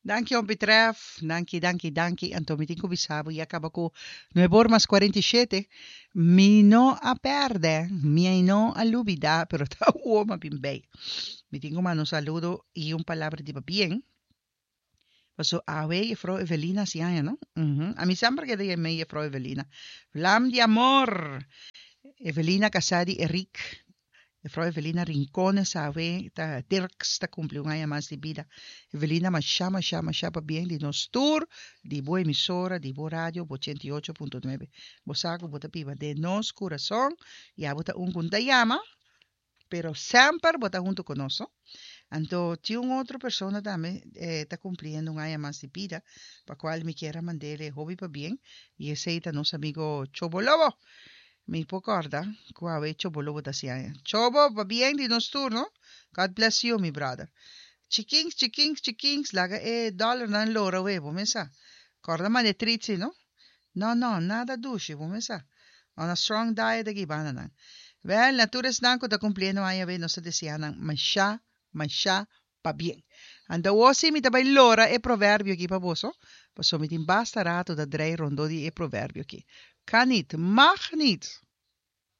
Danki Ompi Tref, danki, danki, danki. Anto mi tin ku bisa bo ya kaba ku nuebor mas 47. Mi no a pèrdè, mi no a lubidá, pero ta awor mi a bin bei. Mi tin ku manda un saludo i un palabra di pabien. Paso awe Jefrouw Evelina hasi aña, no? Uhum. A mi semper keda yam'é Jefrouw Evelina. Vlam di amor! Evelina kasá di Eric. Jefrouw Evelina Rincones awe ta Dirks ta kumpli un aña mas di bida. Evelina mashá mashá mashá pabien di nos tur, di bo emisora, di bo radio, bo 88.9. Bo sa ku bo ta biba den nos kurason i abo ta un ku n'ta yama Pero semper bo ta hunto ku nos, no? Anto tin un otro persona tambe ta kumpliendo un aña mas di bida, pa kual mi kier a mand'el e hopi pabien, i esei ta nos amigo Chobo Lobo. Mi por kòrda ku awe Chobo Lobo ta hasi aña. Chobo, pabien di nos tur, no? God bless you, mi brother. Chikins, chikins, chikins, laga e dòlernan lora awe, bo mes sa. Kòrda manda e tritsi, no? No, no, nada dushi, bo mes sa. On a strong diet aki banda nan. Wel, na tur esnan ku ta kumpliendo aña awe nos ta desea nan mashá, mashá pabien. Anto awor sí mi ta bai lora e proverbio aki pa boso, pasobra mi tin basta rato ta drei rondó di e proverbio aki. Kan niet, mag niet.